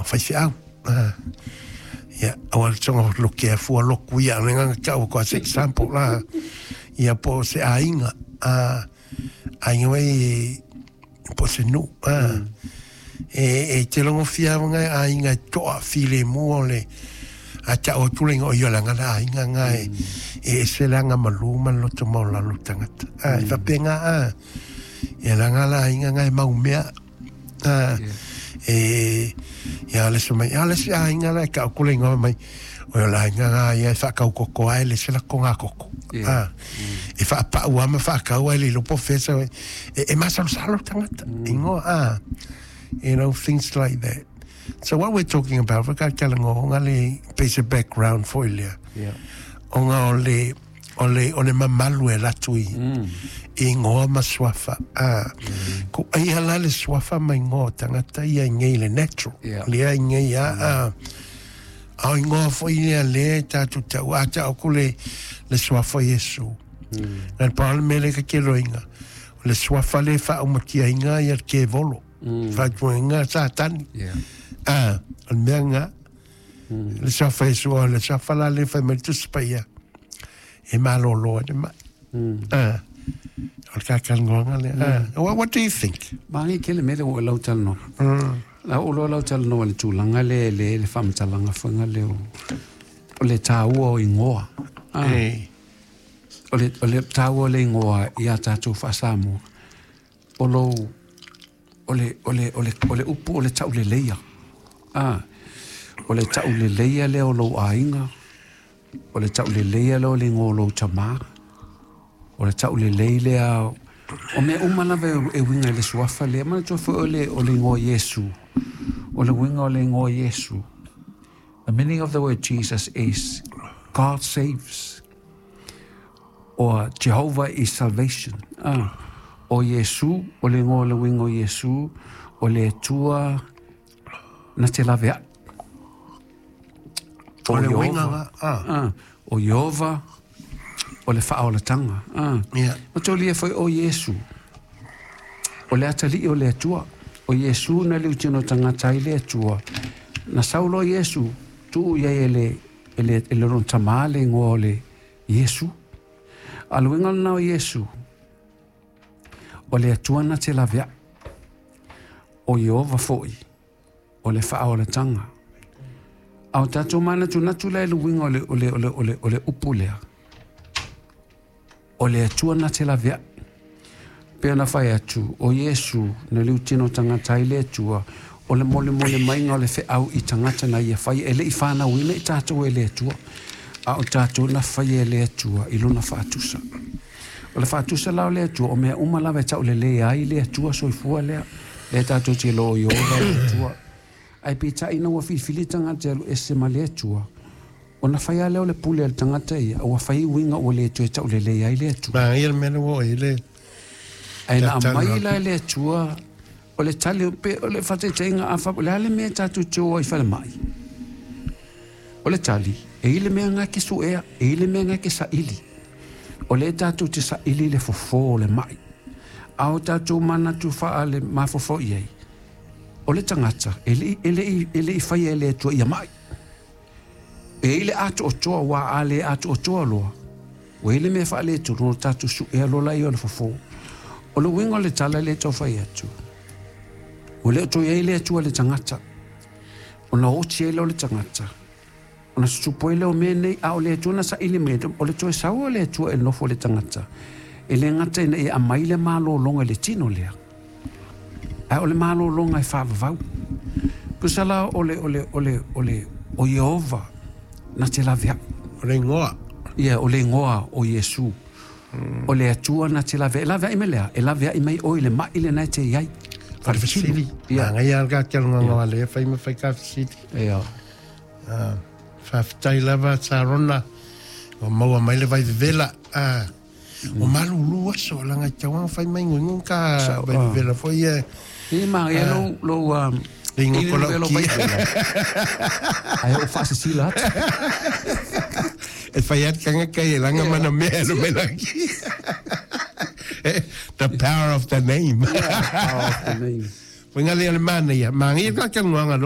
Faifeau. Ia, aua le soga loke a fua loku ia, le nganga tau ko as example la. Ia po se aiga, aiga wai po se nu. E te longo fia nga aiga e toa file mua o le a tau atu le ingoa ia langa la aiga nga e e ese le aga malu ma le loto maualalo o tagata. E faapena ia langa la aiga nga e mau mea. E ia le se mai a le se aiga la e tau atu le ingoa mai o le aiga nga ia e faatau koko ai le se lakoga koko. E faapau lava ma faatau ai le iloa po o fea e e masalosalo le tagata ingoa you know things like that. So what we're talking about ka talanoa le pei se background foi lea. Ona o le o le o le mamalu e alu atu i i igoa ma suafa. Ko ai la le suafa ma igoa o tagata ia i nei le natural. Lea i nei a a o igoa foi lea lea e tatou tau a tau ko le le suafa o Iesu. Na le pau le mea lea ka te iloaina, o le suafa lea e faaumatiaina ia le kevolo. Faatuaina Satani. O le mea lena. Le suafa o Iesu, o le suafa la lea e fai mai le Tusi Paia, e malōlō ai le mai. O le kakalanoaga lea. What do you think? Manaia tele mea lea ua lau talanoa. La oo loa lau talanoa i le tulaga lea e le le faamatalaga foi lea o le taua o igoa. O le taua o le igoa ia tatou faa-Samoa. O lou, o le, o le, o le, o le upu o le tauleleia. O le tauleleia lea o lou aiga, o le tauleleia lea o le igoa o lou tamā, o le taulelei lea, o mea uma lava e uiga i le suafa lea. Manatua foi o le igoa Iesu, o le uiga o le igoa Iesu. The meaning of the word Jesus is God saves, or Jehovah is salvation. O Iesu, o le igoa o le uiga o Iesu, o le Atua na te laveai. O le uiga la. O Ieova, o le faaolataga. Ma tolia foi o Iesu, o le atalii o le Atua. O Iesu na liutino tagata ai le Atua. Na sau loa Iesu, tuu i ai e le, e le, e le lona tamā le igoa o le Iesu. A le uiga lena o Iesu, o le Atua na te laveai. O Ieova foi, o le faaolataga. A o tatou manatunatu la i le uiga o le, o le, o le, o le, o le upu lea. O le Atua na te laveai. Pe ona fai atu, o Iesu, na liutino tagata ai le Atua, o le molemole maiga o le feau i tagata na ia fai, e le i fanauina i tatou e le Atua, a o tatou na fai e le Atua i lona faatusa. O le faatusa la o le Atua, o mea uma lava e taulelei ai le Atua soifua lea, lea tatou te iloa o Ieova le Atua. Ae peitai ina ua filifili tagata e alu ese ma le Atua, ona fai lava lea o le pule a le tagata ia, ua fai uiga ua le toe taulelei ai le Atua. Manaia le mea lea ua oo i ai le Ae na aumai la e le Atua, o le tali, pe o le faataitaiga, a o le a le mea e tatou te o ai i falemai? O le tali, e i ai le mea lena e te suea, e i ai le mea lena e te saili. O lea tatou te saili le fofo o le mai. A o tatou manatu faale mafaufau i ai, o le tagata e le, e le, e le i faia e le Atua ia mai. E i ai le atoatoa, aua a le atoatoa loa, ua i ai le mea faaletonu, o tatou suea loa laia o le fofo. O le uiga o le tala lea e tau fai atu, ua le o toe i ai le Atua i le tagata, ona oti ai lea o le tagata, ona tutupu ai lea o mea nei, a o le Atua na saili mai, o le toe sau o le Atua e nofo i le tagata, e le gata ina ia aumai le malologa i le tino lea, ae o le malologa e faavavau. Tusa la o le, o le, o le, o le, o Ieova na te laveai. O le igoa. Ia, o le igoa o Iesu. O le Atua na te laveai. E laveai mai le a? E laveai mai oe i le mai lena e te i ai. O le fesili. Ia. Manaia lava le tatou lea fai ma fai ka fesili. Ia. Faafetai lava Sarona ua maua mai le vai vevela. O malulu aso laga e tau fai mai nguingu ka vai vevela foi ia. E manaia lou, lou, Le igoa i ko le lau velo ki. vai vela. Ai o faasisila atu. E fai atu kanga kai e langa mana mea no me laki. The power of the name. Power of the name. Foi ngale le mana ia. Manaia ka ka nguanga.